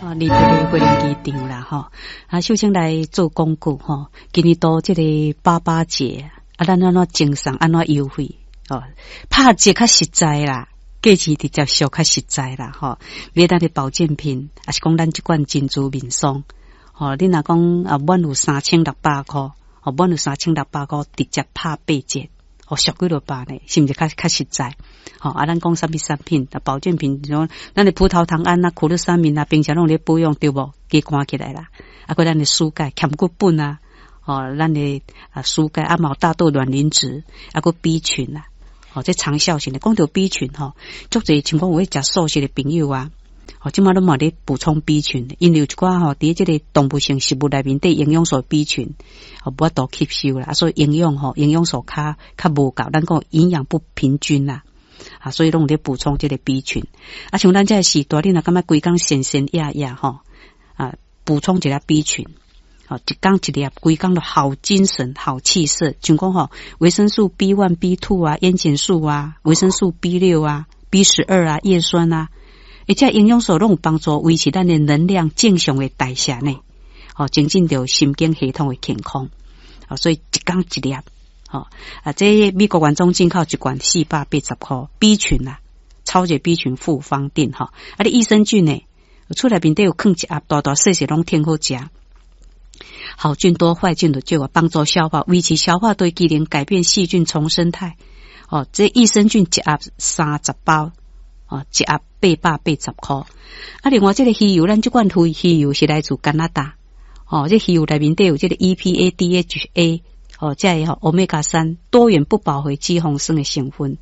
哦，離別的花蓮機場啦，吼，啊，首先來做廣告吼，今年度這個爸爸節，啊，咱按怎贈送，按怎優惠，哦，拍折較實在啦，價錢直接俗較實在啦，吼，買咱的保健品，抑是講咱這款珍珠面霜，吼，你若講啊，滿有三千六百箍，哦，滿有三千六百箍，直接拍八折。哦，俗幾落百呢，是毋是較較實在？吼，啊，咱講啥物產品？啊，保健品，像咱的葡萄糖胺啊、苦樂三明啊，平常攏咧保養對無？加關起來啦。啊，閣咱的舒鈣、強骨本啊，哦，咱的啊舒鈣啊，嘛有大豆卵磷脂，啊，閣 B 群啊，哦，這長效型的。講著 B 群吼，足濟像講有咧食素食的朋友啊，哦，這馬攏嘛咧補充 B 群，因為有一寡吼，佇這個動物性食物內面底營養素 B 群，哦，無法度吸收啦，啊，所以營養吼，營養素較較無夠，咱講營養不平均啦，啊，所以攏有咧補充這個 B 群。啊，像咱這個時代，你若感覺規工神神掖掖吼，啊，補充一下 B 群，哦，一工一粒，規工都好精神、好氣色。像講吼，維生素 B1、B2 啊，煙鹼素啊，維生素 B6啊、B12啊、葉酸啊，而且營養素攏有幫助維持咱的能量正常的代謝呢。哦，增進著神經系統的健康。哦，所以一工一粒，吼啊，這美國原裝進口一罐四百八十箍 B 群啊，超級 B 群複方錠吼。啊，你益生菌呢？厝內面底有囥一盒，大大細細攏挺好食。好菌多，壞菌就少啊，幫助消化，維持消化對機能，改變細菌叢生態。哦，這益生菌一盒三十包，哦，一盒八百八十箍。啊，另外這個魚油，咱這款魚魚油是來自加拿大。哦，這魚油內面底有這個 EPA、DHA，哦，這個吼歐米伽三多元不飽和脂肪酸的成分。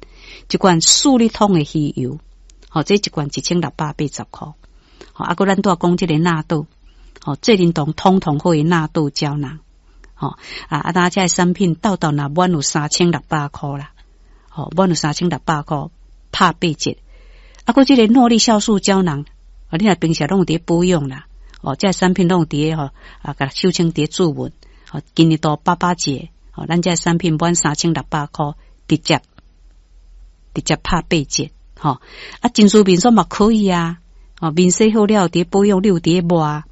這款四粒桶的魚油，哦，這一罐一千六百八十箍。哦，啊，閣咱拄仔講這個納豆，哦，濟仁堂通通好的納豆膠囊，吼啊啊，咱這個產品鬥鬥若滿有三千六百箍啦，吼滿有三千六百箍拍八折。啊，閣這個諾麗酵素膠囊，啊，你若平時攏有佇保養啦，哦，這個產品攏有佇吼啊，共秀清佇注文，哦，今年度爸爸節，哦，咱這個產品滿三千六百箍，直接直接拍八折，吼啊，珍珠面霜嘛可以啊。哦，面洗好了，佇保養，你有佇抹，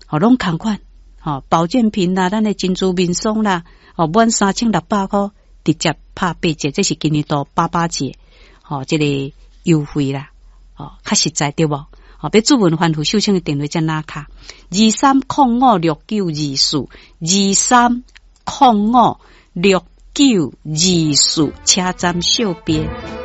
哦，攏仝款，吼，保健品啦，咱的珍珠面霜啦，哦，滿三千六百箍，直接拍八折，這是今年度爸爸節，吼，這個優惠啦，哦，較實在對無？哦，欲注文番予秀清的電話遮拿卡，23056924，23056924，車站小編。